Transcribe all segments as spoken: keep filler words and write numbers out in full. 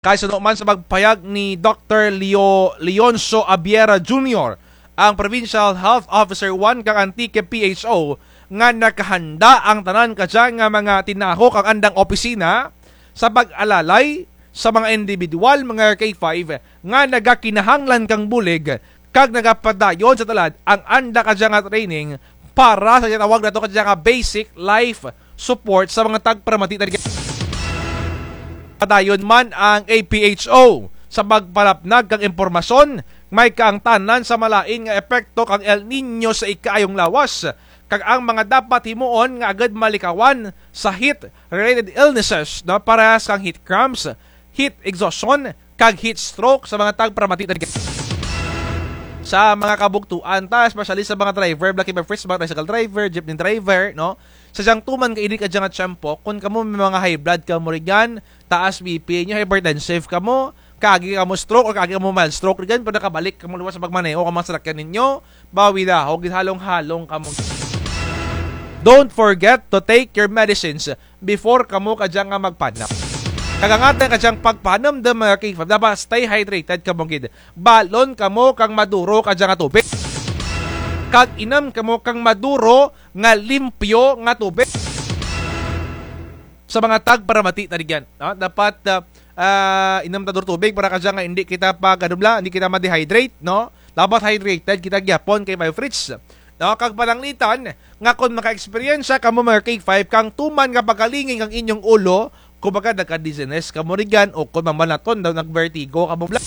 Kay suno man sa pagpahayag ni Doktor Leo Leoncio Abiera Junior, ang Provincial Health Officer one kang Antique P H O, nga nakahanda ang tanan kadya nga mga tinaho kang andang opisina sa pag-alalay sa mga indibidwal, mga K five, nga nagakinahanglan kang bulig kag nagapadayon sa tulad ang anda kadya nga training para sa ginatawag nato kadya nga basic life support sa mga tagparamati. Padayon man ang A P H O sa pagpalapnag kang impormasyon, may kaangtanan sa malain nga epekto kang El Niño sa ikaayong lawas, kag ang mga dapat himuon nga agud malikawan sa heat-related illnesses, no, parehas kang heat cramps, heat exhaustion, kag heat stroke sa mga tagparamati. Sa mga kabugtuan ta, especially sa mga driver, Blacky Bebfrits, mga tricycle driver, jeepney driver, no? Sa dyang tuman kainit kadya nga tiyempo, kon kamo may mga high blood kamo rugyan, taas B P ninyo, hypertensive kamo, kaagi kamo stroke, or kaagi kamo mild stroke rugyan, pero nakabalik kamo liwat sa pagmaneho kang mga sarakyan ninyo, bawi dahog, halong-halong kamo. Don't forget to take your medicines before kamo kadya nga magpanam. Kag ang atun kadyang pagpanumdum, mga K five, dapat stay hydrated kamo gid. Balon kamo kang maduro kadya nga tubig. Kag inum kamo kang maduro nga limpyo nga tubig. Sa mga tagparamati ta rugyan, no? Dapat, ah, ah, inum ta duro tubig para kadya nga indi kita pag, ano bala, indi kita ma-dehydrate, no? Dapat hydrated kita gihapon, K five Fritz. No, kag pananglitan nga kon maka-eksperyensya kamo, mga K five, kang tuman nga pagkalingin kang inyong ulo, kumbaga nagka-dizziness kamo rugyan, o kon mamalaton daw nag-vertigo kamo bala.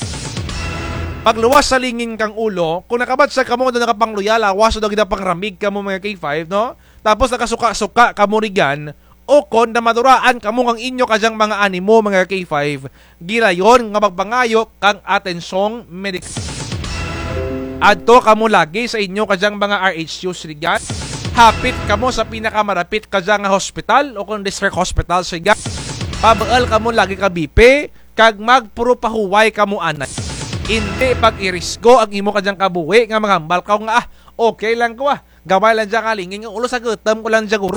Pagluwas sa lingin kang ulo, kon nakabatyag kamo daw nakapangluya lawas, daw ginapangramig kamo, mga K five, no? Tapos nakasuka-suka kamo rugyan, o kon namaduraan kamo kang inyo kadyang mga animo, mga K five, gilayon nga magpangayo kang atensyong medikal. Adto kamo lagi sa inyo kadyang mga R H Us rugyan. Hapit kamo sa pinakamarapit kadya nga hospital o kon district hospital rugyan. Pabuul kamo lagi ka B P, kag magpurupahuway kamo anay. Indi pag-irisgo ang imo kadyang kabuhi nga manghambal kaw nga, ah, okay lang ko, ah. Gamay lang dya nga lingin kang ulo, sa gutom ko lang dya guro.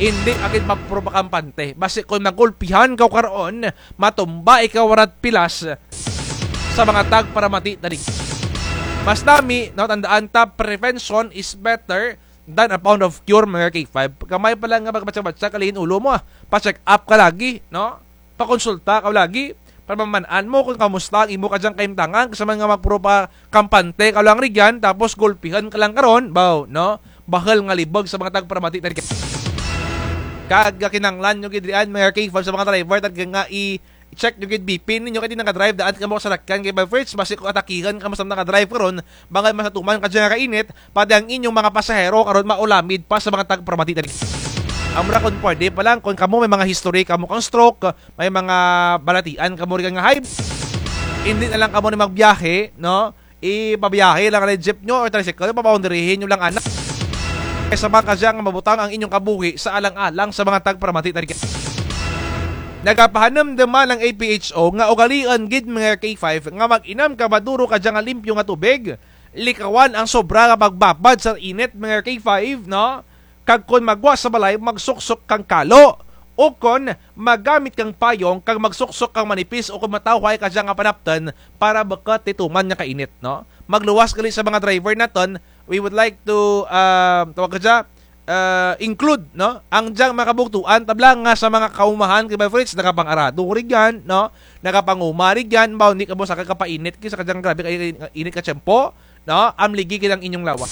Indi ka gid magprupa kampante. Basi kon magulpihan kaw karon, matumba ikaw wara't pilas sa mga tagparamati ta rugyan. Mas nami, no, tandaan ta, prevention is better than a pound of cure, mga K five. Gamay pa lang nga magbatyag-batyag ka lingin ulo mo, ah. Pa-check up ka lagi, no? Pakonsulta kaw lagi, para maman-an mo kon kamusta ang imo kadyang kahimtangan, kaysa man nga magprupa kampante kaw lang rugyan, tapos gulpihan ka lang karon, baw, no? Bahul nga libog sa mga tagparamati ta rugyan. Kag kinahanglan nyo gid riyan, mga K five, sa mga driver, talaga nga i-check nyo gid B P ninyo, kay ti naga-drive daan kamo ka sarakyan, K five Fritz, basi kon atakihan kamo sa naga-drive karon, bangud mas natuman kadya nga kainit, pati ang inyong mga pasahero karon maulamid pa sa mga tagparamati ta rugyan. Amo ra kon pwede pa lang, kon kamo may mga history kamo kang stroke, may mga balatian kamo rugyan nga high, indi na lang kamo ni magbiyahe, no? Ipabiyahe lang ni jeep nyo or tricycle, paboundaryhin nyo lang ana. Kaysa man kadya nga mabutang ang inyong kabuhi sa alang-alang sa mga tagparamati ta rugyan. Nagapahanumdum man ang A P H O nga ugaliun gid, mga K five, nga mag-inum ka maduro kadya nga limpyo nga tubig, likawan ang sobra nga pagbabad sa init, mga K five, no? Kag kon maggwa sa balay, magsuksok kang kalo, ukon magamit kang payong kag magsuksok kang manipis ukon matawhay kadya nga panaptun para bukut ti tuman nga kainit, no? Magluwas gali sa mga driver natun, we would like to, ah, tawag kadya, ah, include, no, ang dyang mga kabugtuan, tabla nga sa mga kaumahan, K five Fritz, nakapang-arado rugyan, no? Nakapanguma rugyan, baw, indi kamo sakay ka painit, kay sa kadyang grabe ka init ka tiyempo, no? Amligi gid ang inyong lawas.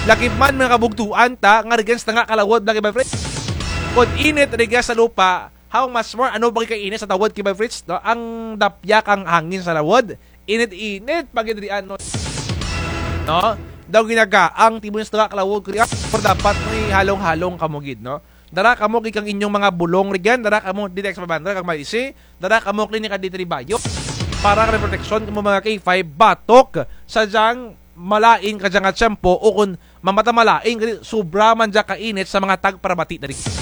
Lakip man mga kabugtuan ta, nga rugyan sa tunga ka lawod, Blacky Bebfrits. Kon init rugya sa lupa, how much more, ano pa gid ka init sa lawod, K five Fritz, no? Ang dapya kang hangin sa lawod, init-init pa gid riyan, no? No? Daw ginagaang ti mo sa tunga ka lawod ko riyan, pero dapat mo ihalong-halong kamo gid, no? Dara kamo gid kang inyong mga bulong rugyan, dara kamo D T X five hundred kag may isi, dara kamo klinika D three Bayo. Para kay proteksyon kamo mga K five batok sa dyang malain kadya nga tiyempo ukon mamata malain kay sobra man dya kainit sa mga tagparamati ta rugyan.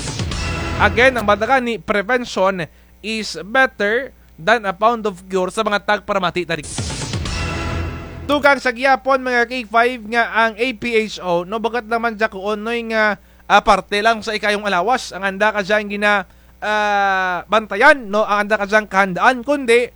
Again, ang banda gani, prevention is better than a pound of cure sa mga tagparamati ta rugyan. Dugang sa gihapon, mga K five, nga ang A P H O, no, bukut lang man dya kuon, Noy, nga, ah, parte lang sa ikaayong lawas ang anda kadyang gina, ah, bantayan, no, ang anda kadyang kahandaan, kundi